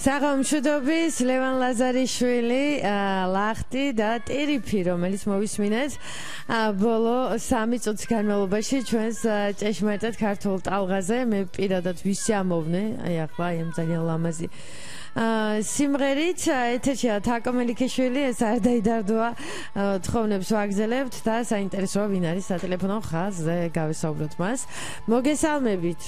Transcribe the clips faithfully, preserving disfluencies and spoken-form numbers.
საღამოშუდობის ლევან ლაზარიშვილი, ლახტი და ტერიფი, რომელიც მოვისმინეთ ბოლო სამი წუთის განმავლობაში ჩვენს ჭეშმარიტად ქართულ ტალღაზე. მე პირადად ვისიამოვნე, აი ახლა აი ამ ძალიან ლამაზი სიმღერით ეთერშია თაკო მელიქიშვილი, ეს არ დაიდარდოა, თხოვნებს ვაგზელებთ და საინტერესოა ვინ არის სატელეფონო ხაზზე, გავესაუბროთ მას. მოგესალმებით.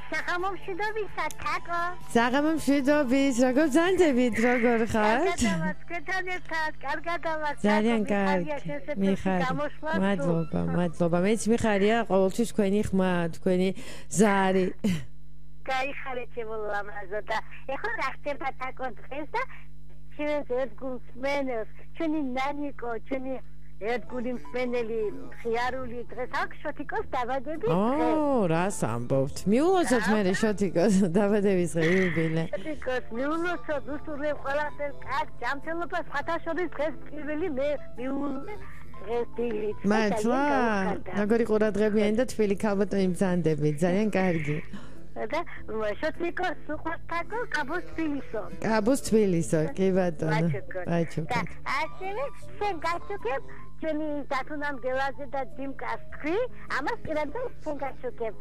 საღამომშვიდობისა, თაკო. საღამომშვიდობის, როგორ ბრძანდებით, როგორ ხართ? ძალიან კარგი. მიხარია. მადლობა, მადლობა. მეც მიხარია, ყოველთვის თქვენი ხმა, თქვენი ზარი. გაიხარეთ შემოლამაზო და ეხლა რა ხდება თაკო დღეს და ჩვენს ერთგულს მენელს, ჩვენი ნანიკო, ჩვენი ერთგული მსმენელი ხიარული დღეს აქვს შოთიკოს დაბადების დღე. ო, რას ამბობთ? მიულოცოთ მე შოთიკოს დაბადების დღე იუბილე. შოთიკოს მიულოცოთ, უსურვებ ყველაფერს კარგ ჯანმრთელობას, სხვათაშორის დღეს პირველი მე მიულოცე დღეს დილით. მართლა? როგორი ყურადღებიანი და თბილი ქალბატონი ბრძანდებით, ძალიან კარგი. და შოთიკოს უყვართ თაკო, კაბოს თბილისო. კაბოს თბილისო, კი ბატონო. აჩუქოთ. და ასევე შენ გაჩუქებ ჩვენი დათუნამ გელაძე და დიმკას თქვი, ამას პირადად შენ გაჩუქებ.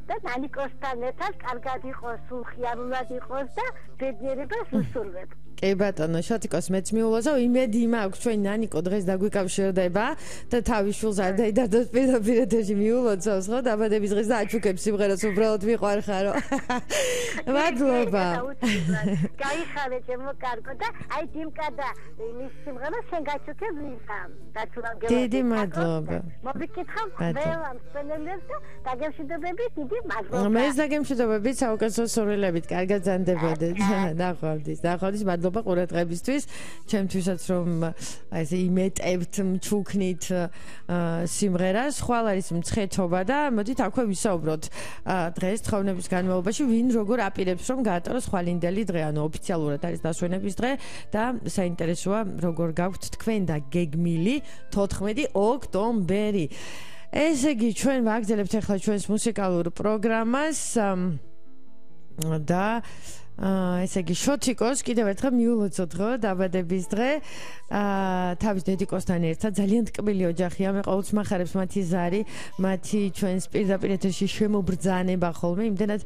და ნანიკოსთან ერთად კარგად იყოს, სულ ხიარულად იყოს და ბედნიერებას უსურვებ. კი ბატონო, შოთიკოს მეც მიულოცავ, იმედი მაქვს ჩვენი ნანიკო დღეს დაგვიკავშირდება და თავის შვილს არ დაიდარდოს პირდაპირ ეთერში მიულოცავს, ხო, დაბადების დღეს და აჩუქებს სიმღერას, უბრალოდ მიყვარხარო. მადლობა. გაიხარე ჩემო კარგო და აი დიმკა და მის სიმღერას შენ გაჩუქებ ვინსამ. დიდი მადლობა. მოგიკითხავ ყველამ მსმენელებს და დაგემშვიდობებით დიდი მადლობა. მეც დაგემშვიდობებით, საუკეთესო სურვილებით, კარგად ბრძანდებოდეთ. ნახვამდის, ნახვამდის, მადლობა ყურადღებისთვის. ჩემთვისაც რომ აი ესე იმეტებთ, მჩუქნით სიმღერას, ხვალ არის მცხეთობა და მოდით აქვე ვისაუბროთ დღეს თხოვნების განმავლობაში ვინ როგორ აპირებს რომ გაატაროს ხვალინდელი დღე, ანუ ოფიციალურად არის დასვენების დღე და საინტერესოა როგორ გაქვთ თქვენ და გეგმილი თოთხმეტი ოქტომბერი. ესე იგი ჩვენ ვაგზელებთ ახლა ჩვენს მუსიკალურ პროგრამას და ესე იგი შოთიკოს კიდევ ერთხელ მიულოცოთ ხო დაბადების დღე თავის დედიკოსთან ერთად ძალიან ტკბილი ოჯახია, მე ყოველთვის მახარებს მათი ზარი, მათი ჩვენს პირდაპირ ეთერში შემობრძანება ხოლმე, იმდენად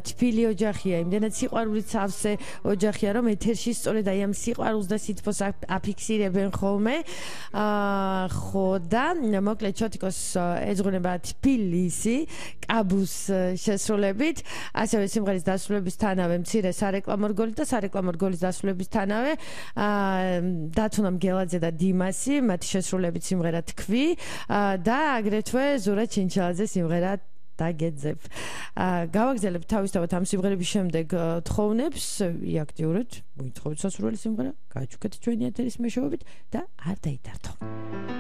თბილი ოჯახია, იმდენად სიყვარულით სავსე ოჯახია, რომ ეთერში სწორედ აი ამ სიყვარულს და სითბოს აფიქსირებენ ხოლმე. ხო და მოკლედ შოთიკოს ეძღვნება თბილისი კაბუს შესრულებით, ასევე სიმღერის დასრულებისთანავე მცირე სარეკლამო რგოლი და სარეკლამო რგოლის დასრულებისთანავე დათუნამ გელაძე და დიმასი, მათი შესრულებით სიმღერა თქვი და აგრეთვე ზურა ჩინჩალაძე სიმღერა დაგეძებ. გავაგზავნებ თავისთავად ამ სიმღერების შემდეგ თხოვნებს, იაქტიურეთ, მოითხოვეთ სასურველი სიმღერა, გააჩუქეთ ჩვენი ეთერის მეშვეობით და არ დაიდარდო.